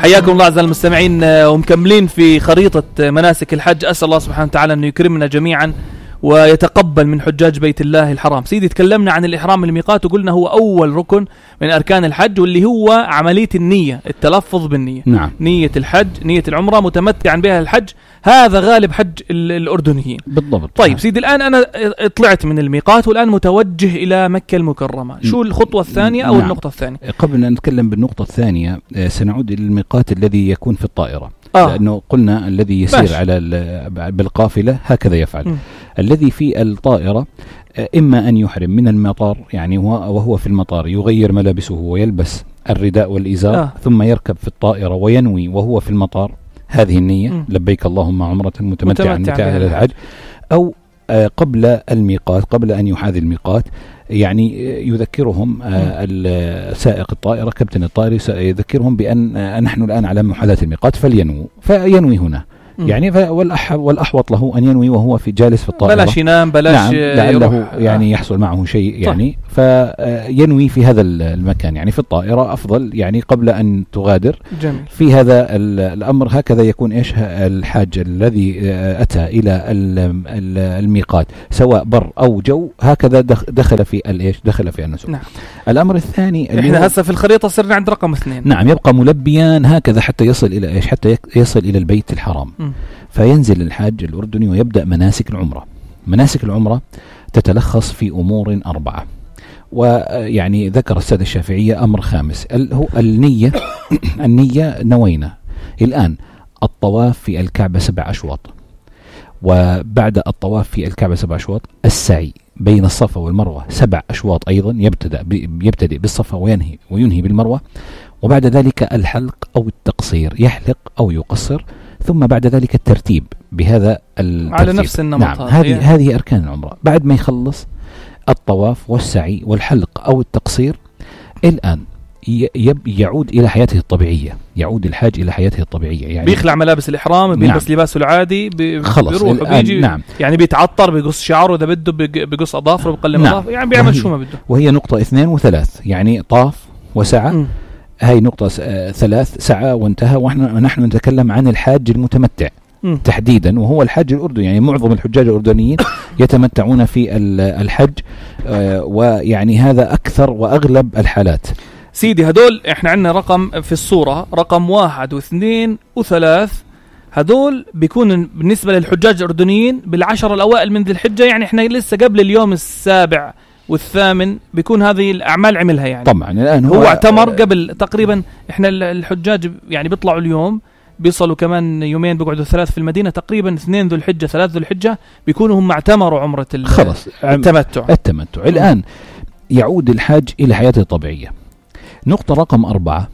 حياكم الله أعزائي المستمعين، ومكملين في خريطة مناسك الحج. أسأل الله سبحانه وتعالى أن يكرمنا جميعا ويتقبل من حجاج بيت الله الحرام. سيدي تكلمنا عن الإحرام من الميقات وقلنا هو أول ركن من أركان الحج، واللي هو عملية النية، التلفظ بالنية. نعم. نية الحج، نية العمرة متمتعا بها الحج، هذا غالب حج الأردنيين بالضبط. طيب سيدي، الآن أنا طلعت من الميقات والآن متوجه إلى مكة المكرمة، شو الخطوة الثانية أو النقطة الثانية؟ قبل أن نتكلم بالنقطة الثانية سنعود إلى الميقات الذي يكون في الطائرة. لأنه قلنا الذي يسير على بالقافلة هكذا يفعل. الذي في الطائرة إما أن يحرم من المطار، يعني وهو في المطار يغير ملابسه ويلبس الرداء والإزار، ثم يركب في الطائرة وينوي وهو في المطار هذه النية، لبيك اللهم عمرة متمتعا إلى الحج، أو قبل الميقات، قبل أن يحاذي الميقات، يعني يذكرهم سائق الطائرة، كابتن الطائرة يذكرهم بأن نحن الآن على محاذاة الميقات فينوي هنا. يعني والأحوط له أن ينوي وهو في جالس في الطائرة، بلاش ينام، بلاش نعم، لعله يعني يحصل معه شيء، يعني فينوي في هذا المكان، يعني في الطائرة أفضل، يعني قبل أن تغادر. جميل. في هذا الأمر هكذا يكون إيش الحاج الذي أتى إلى الميقات سواء بر أو جو، هكذا دخل في الإيش، دخل في النسك. نعم. الأمر الثاني، إحنا هسه في الخريطة صرنا عند رقم 2. نعم، يبقى ملبيا هكذا حتى يصل إلى إيش، حتى يصل إلى البيت الحرام. فينزل الحاج الأردني ويبدأ مناسك العمرة. مناسك العمرة تتلخص في أمور 4، ويعني ذكر السادة الشافعية أمر خامس، هو النية. النية نوينا الآن الطواف في الكعبة 7 أشواط، وبعد الطواف في الكعبة 7 أشواط السعي بين الصفا والمروة 7 أشواط أيضا، يبتدئ بالصفا وينهي بالمروة، وبعد ذلك الحلق أو التقصير، يحلق أو يقصر، ثم بعد ذلك الترتيب بهذا الترتيب على نفس النمط. نعم. هذه أركان العمرة. بعد ما يخلص الطواف والسعي والحلق أو التقصير، الآن يعود إلى حياته الطبيعية، يعود الحاج إلى حياته الطبيعية، يعني بيخلع ملابس الإحرام، بيلبس لباسه العادي، بيروح وبيجي. نعم. يعني بيتعطر، بيقص شعره إذا بده، بيقص أظافره، بيقلم أظافره، يعني بيعمل شو ما بده. وهي نقطة 2 و3، يعني طاف وسعى. هاي نقطة 3 سعى وانتهى، ونحن نتكلم عن الحاج المتمتع تحديدا، وهو الحاج الأردني. يعني معظم الحجاج الأردنيين يتمتعون في الحج، ويعني هذا أكثر وأغلب الحالات. سيدي هدول احنا عندنا رقم في الصورة، رقم 1 و2 و3، هدول بيكون بالنسبة للحجاج الأردنيين بال10 الأوائل من ذي الحجة، يعني احنا لسه قبل اليوم 7 و8 بيكون هذه الأعمال عملها. يعني طبعا الآن هو اعتمر قبل تقريبا. احنا الحجاج يعني بيطلعوا اليوم، بيصلوا كمان يومين، بيقعدوا 3 في المدينة، تقريبا 2 ذو الحجة 3 ذو الحجة بيكونوا هم اعتمروا عمرة خلص التمتع. الآن يعود الحاج إلى حياته الطبيعية. نقطة رقم 4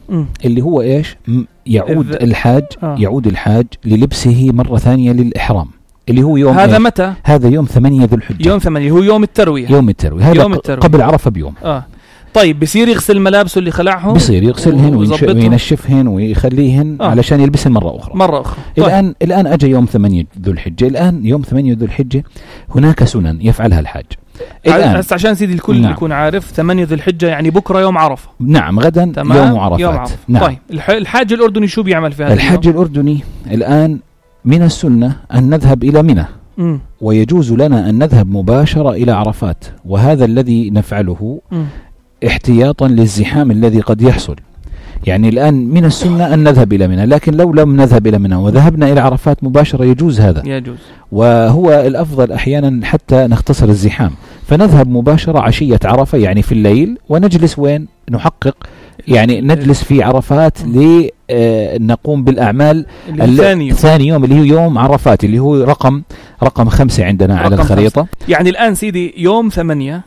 اللي هو إيش، يعود الحاج يعود الحاج للبسه مرة ثانية للإحرام، اللي هو يوم هذا متى؟ هذا يوم 8 ذو الحجة. يوم 8 هو يوم التروية. هذا قبل عرفة بيوم. طيب بيصير يغسل ملابسه اللي خلعهم، بيصير يغسلهن وينشفهن ويخليهن علشان يلبسهن مرة أخرى. طيب. الآن أجى يوم 8 ذو الحجة. الآن يوم 8 ذو الحجة هناك سنن يفعلها الحاج. بس عشان سيدي الكل يكون عارف، 8 ذو الحجة يعني بكرة يوم عرفة. نعم، غدا يوم عرفات. نعم. طيب الحاج الأردني شو بيعمل في هذا الحاج الأردني الآن من السنة أن نذهب إلى منى، ويجوز لنا أن نذهب مباشرة إلى عرفات، وهذا الذي نفعله احتياطا للزحام الذي قد يحصل. يعني الآن من السنة أن نذهب إلى منى، لكن لو لم نذهب إلى منى وذهبنا إلى عرفات مباشرة يجوز هذا، وهو الأفضل أحيانا حتى نختصر الزحام، فنذهب مباشرة عشية عرفة، يعني في الليل، ونجلس وين نحقق، يعني نجلس في عرفات لنقوم بالأعمال الثاني يوم اللي هو يوم عرفات، اللي هو رقم 5 عندنا على الخريطة. يعني الآن سيدي يوم 8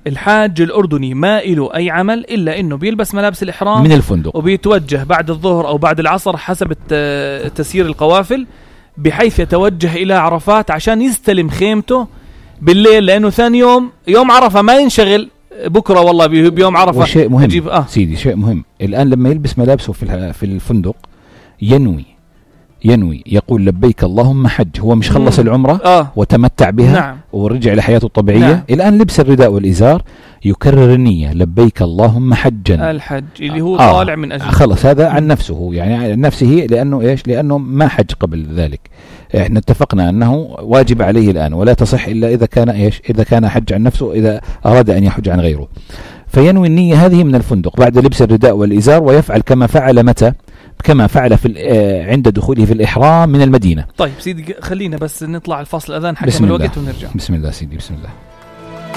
الحاج الأردني ما إله أي عمل إلا إنه بيلبس ملابس الإحرام من الفندق، وبيتوجه بعد الظهر أو بعد العصر حسب تسيير القوافل، بحيث يتوجه إلى عرفات عشان يستلم خيمته بالليل، لأنه ثاني يوم عرفة ما ينشغل بكرة والله بيوم عرفة. وشيء مهم سيدي، شيء مهم الآن لما يلبس ملابسه في الفندق ينوي يقول لبيك اللهم حج، هو مش خلص العمرة وتمتع بها نعم. ورجع لحياته الطبيعية، نعم. الآن لبس الرداء والإزار، يكرر النية لبيك اللهم حجا، الحج اللي هو طالع من أجل خلص هذا عن نفسه، يعني عن نفسه، لأنه إيش؟ لأنه ما حج قبل ذلك. احنا اتفقنا أنه واجب عليه الآن، ولا تصح إلا إذا كان إيش؟ إذا كان حج عن نفسه، إذا أراد أن يحج عن غيره. فينوي النية هذه من الفندق بعد لبس الرداء والإزار، ويفعل كما فعل متى؟ كما فعل عند دخوله في الإحرام من المدينة. طيب سيدي خلينا بس نطلع الفاصل الأذان حكم الوقت ونرجع. بسم الله سيدي، بسم الله.